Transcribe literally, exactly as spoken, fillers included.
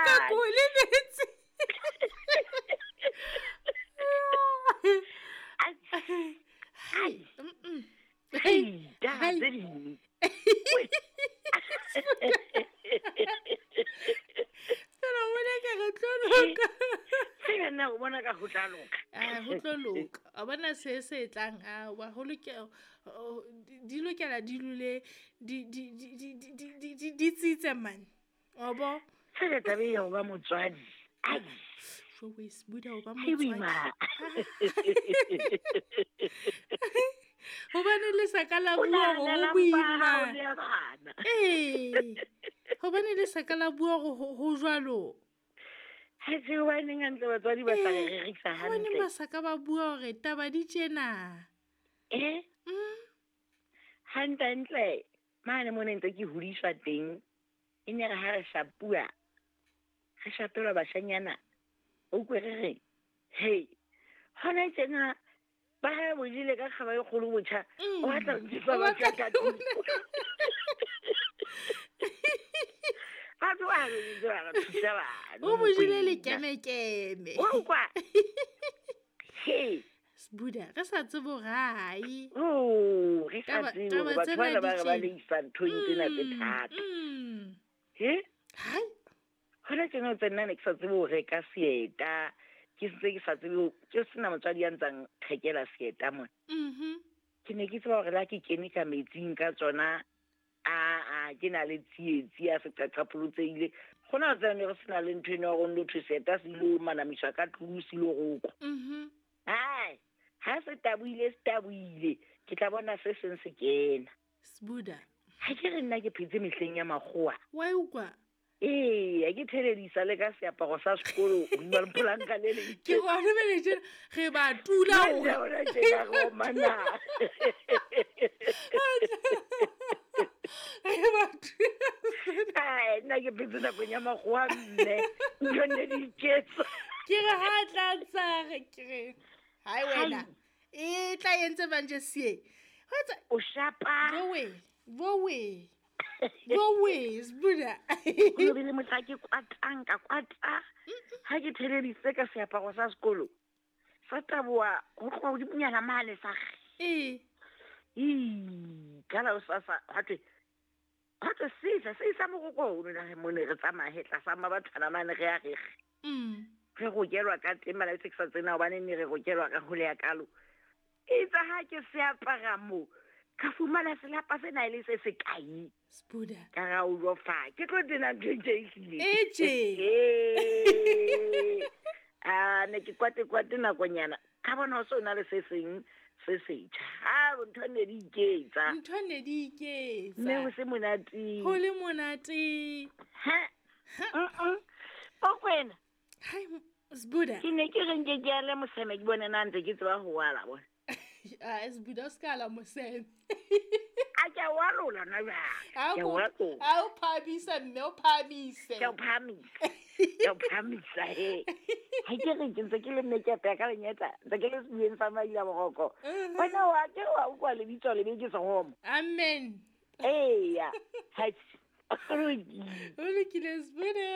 ka ko lebetse. Ai. Ai, taba tse ding. Fela o bona ka re tlo loka. Fela nna o bona ka ho tla loka. Ah, ho tlo loka. A bona se se tlang a wa ho lokela di lokela di lule di di di di di di di tsitse man. O bo? Fela taba ya ho ba motswadi. Ai. Jowe Sbuda o ba motswadi. Hobane le sa ka la bua hore ho boima. Eh. Hobane le sa ka la bua hore ho jwalo. Ha se hobaneng hantle batswadi ba sa re rerisa hantle. Hobane ba sa ka ba bua hore taba di tjena. Eh? Mm. Hantle hantle mane mo ne ntse ke hodiswa teng. E ne re ha re shapua. Re shapelwa bashanyana. O kwe re re hey, hona tjena ba ha bojile ka kgaba e kgolo botjha o batla ho ntisa batjha ka tlung. Batho ba re ntse ba re thusa bana. O bojile lekemekeme. O kwa. Hey, Sbuda re sa tsebe hore hai. Oh, re sa Taba tsebe taba hore batho tsena bana di ba re ba tjena. le isa nthong tsena tse thata. Mm. He? Hai. Hona tjena o tse nna ne ke sa tsebe ho reka seeta. Ke sentse ke sa tsebe ho ke sena motswadi ya ntsang thekela seeta mona. Mhm. Ke ne ke tseba hore la ke kene ka metsing ka tsona a a ke na le tsietsi ya seqaqapolotseile. Hona tsena ne re sena le ntho eno ya hore lotho seeta se ilo manamiswa ka tlung se ilo rokwa. Mhm. Hai, ha se tabohile se tabohile, ke tla bona se seng se kena. Sbuda. Ha ke re nna ke phetse mehleng ya makgowa. Wa e utlwa? Ee, ha ke theledisa le ka seaparo sa sekolo hodima lepolanka le le Ke go arabele tjena re ba tula Manje hore hona tjena re omana. Re ba tula. Ai, nna ke phetse nakong ya makgowa mme. Ntho ne di iketsa. Ke re ha tla tsa re ke re hai wena. Hai. E tla entse manje sie. Ho etsa O shapa. Bowe, bowe. Bowe, Sbuda. Ho bile mohla ke kwatang ka kwata. Ha ke theleditse ka seaparo sa sekolo. Sa taboha ho tloha hodimonyana mane sa re. Eh. Ii, ka la hosasa ha thwe ha thwe sesa se isa moroko o ne mo ne re tsamaye tlasa mabathwana mane re ya re re. Mm. Re rokelwa ka teng mala se ke sa tsena hobane ne re rokelwa ka hole ya kalo. Itse ha ke se apara mo ka fumana selapa sena e le se se kae. Sbuda. Ka ra o lo fa ke tlo tena ntho e tje e hlile. E tje. Eh. Ah, ne ke kwate kwate nakonyana. Ka bona ho so na le se seng se setjha. Ha ntho ne di iketsa. Ntho ne di iketsa. Mme ho se monate. Ho le monate. Ha. Mm-mm. O kwena. Hai, Sbuda. Ke ne ke re nke ke ale moseme ke bone na ntse ke tseba ho wala bona. Ah, Sbuda o ska la moseme. A ke a walola na jwale. A Ke a o walola. a o phahamisa mme o phahamise. Ke a o phahamisa. Ke a o phahamisa he. Ha ke re ke ntse ke le mme ke apeya ka lenyetla, ntse ke le sebueng sa maila boroko. Mhm. Wena wa ke wa utlwa lebitso lebe ke sehomo. Amen. Eya. Ha o lokile. O lokile Sbuda.